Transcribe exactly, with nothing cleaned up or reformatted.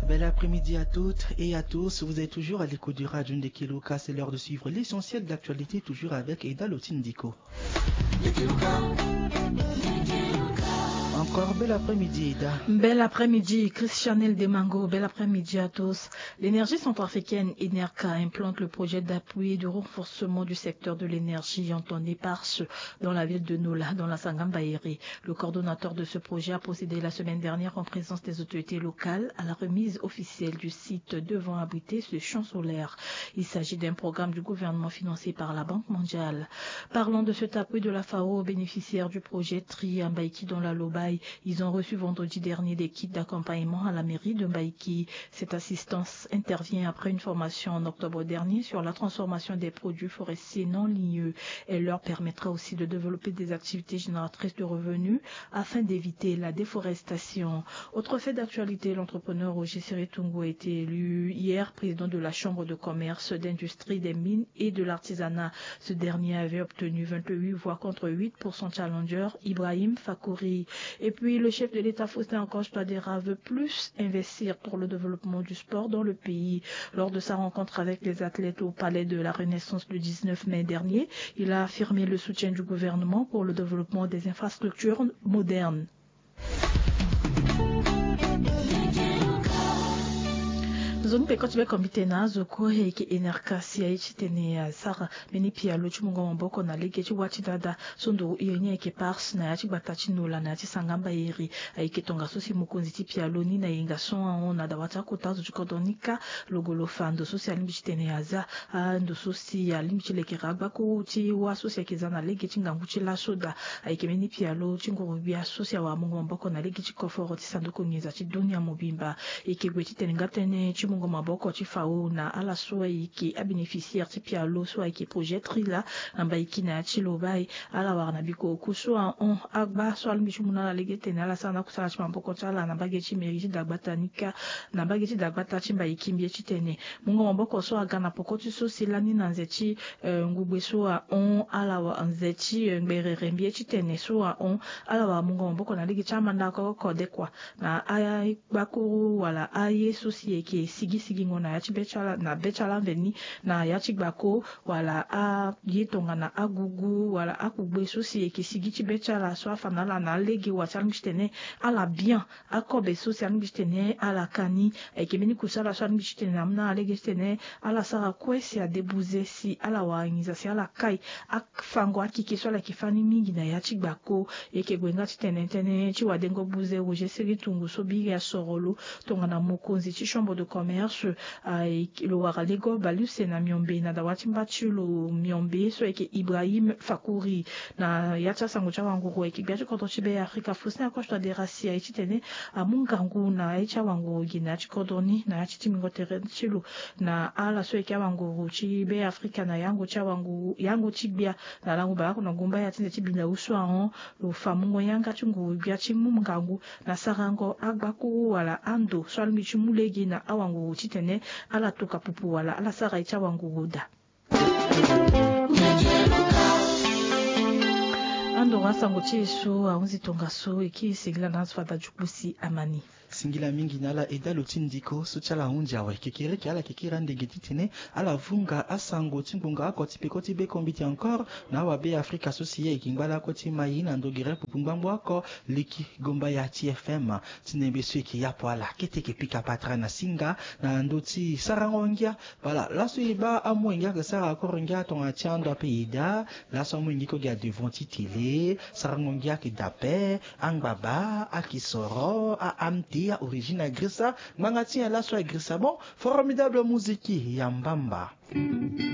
Bel après-midi à toutes et à tous. Vous êtes toujours à l'écoute du Radio Ndekeloka. C'est l'heure de suivre l'essentiel de l'actualité, toujours avec Eda Lotindiko. Encore bel après-midi, Eda. Bel après-midi, Christianel Demango. Bel après-midi à tous. L'énergie centrafricaine, Enerca, implante le projet d'appui et de renforcement du secteur de l'énergie, entendue par dans la ville de Nola, dans la Sangamba Ere. Le coordonnateur de ce projet a procédé la semaine dernière en présence des autorités locales à la remise officielle du site devant abriter ce champ solaire. Il s'agit d'un programme du gouvernement financé par la Banque mondiale. Parlant de cet appui de la FAO aux bénéficiaires du projet Tri à Mbaïki dans la Lobaye, ils ont reçu vendredi dernier des kits d'accompagnement à la mairie de Mbaïki. Cette assistance intervient après une formation en octobre dernier sur la transformation des produits forestiers non ligneux. Elle leur permettra aussi de développer des activités génératrices de revenus afin d'éviter la déforestation. Autre fait d'actualité, l'entrepreneur Roger Seritungu a été élu hier président de la Chambre de commerce, d'industrie, des mines et de l'artisanat. Ce dernier avait obtenu vingt-huit voix contre huit pour son challenger, Ibrahim Fakouri. Et puis, le chef de l'État, Faustin Archange Touadéra, veut plus investir pour le développement du sport dans le pays. Lors de sa rencontre avec les athlètes au palais de la Renaissance le dix-neuf mai dernier, il a affirmé le soutien du gouvernement pour le développement des infrastructures modernes. Nzoni peko ti be kombite na azo ko, e yeke Enerca si aye titene asara mbeni pialo ti mungo maboko na lege ti wâ ti dada. So nduru iri ni ayeke Pars na ya ti gbata ti Nola na ya ti Sangamba Iri. Ayeke tongaso si mokonzi ti pialo ni na yenga so ahon na dawa ti akota azo ti kodro ni kâ, lo gue lo fa ndo so si alingbi titene aza, ando so si alingbi ti lekere agbakuru ti wâ so si ayeke za na lege ti ngangu ti laso daa. Ayeke mbeni pialo ti nguru-gbia so si awara mungo maboko na lege ti koforo ti sanduku nginza ti dunia mobimba. E yeke gue titene nga tënë ti mungo maboko ti FAO na ala so ayeke abénéficiaire ti pialo so ayeke projet Tri laa na Mbaïki na ya ti Lobaye. Ala wara na bikoko so ahon agba so alingbi ti mu na ala lege titene ala sara na akusala ti maboko ti ala na mbage ti mairie ti dagbata ni kâ. Na mbage ti dagbata ti Mbaïki mbi ye titene mungo maboko so aga na poko ti so si lani na nze ti, eh, ngugbe so ahon ala wara nze ti, eh, ngberere mbi ye titene so ahon ala wara mungo maboko na lege ti amandako kodekua na agbakuru wala aye so si e yeke sigi sigingo na ya ti be ti ala na be ti ala mveni na ya ti gbako wala aye tongana agugu wala akugbe so si e yeke sigi ti be ti ala so afa na ala na alege wa ti alingbi titene ala bien akobe so si alingbi titene ala ka ni. Ayeke mbeni kusala so alingbi titene amu na ala lege titene ala sara kue si adebuze si ala wara nginza si ala kai afango akeke so ala yeke fâ ni mingi na ya ti gbako. E yeke gue nga titene tënë ti wadengo buze Roger Seri Tungu so biri asoro lo tongana mokonzi ti chambre de commerce, ah, e yeke lo wara lego baleuse na miombe na dawa ti mba ti lo miombe so ayeke Ibrahim Fakouri. Na ya ti asango ti awanguru ayeke gbia ti kodro ti Be Afrika Faustin Archange Touadéra si aye titene amu ngangu na ya ti awanguru gi na ya ti kodro ni na ya ti tingbingo tere ti lo na ala so ayeke awanguru ti Be Afrika na yango ti awanguru yango ti gbia na lango baleoko na gumba ya ti nze ti Bindao so ahon. Lo fa mungo yanga ti nguru-gbia ti mu ngangu na sarango agbakuru wala ando so alingbi ti mu lege na awanguru titene ala toka pupu wala ala sara ye ti awanguru daa. Andoro asango ti e so ahunzi tongaso e kiri singila na azo fada ti kpusi amani. Singila mingi na ala Eda Lotindiko so ti ala hunzi awe. Kekereke ala yeke kiri andege titene ala vunga asango ti ngbonga oko ti peko ti be kombite encore na awabe Afrika so si e yeke ngba lakue ti mai na ndo gere pupu ngbangbo oko leki gomba ya ti F M. Ti nembe so e yeke yapo ala kete e yeke pika patara na singa na ndö ti sarango ngia. Voilà, laso e baa amolenge ayeke sara akoro ngia tongana ti ando ape e daa. Laso amolenge kue gi adevant ti tele sarango ngia ayeke daa ape. Angbaba, akisoro, a-amte, a-origine agrisa. Ngbanga ti nyen laso agrisa? Bon, formidable musique ya mbamba.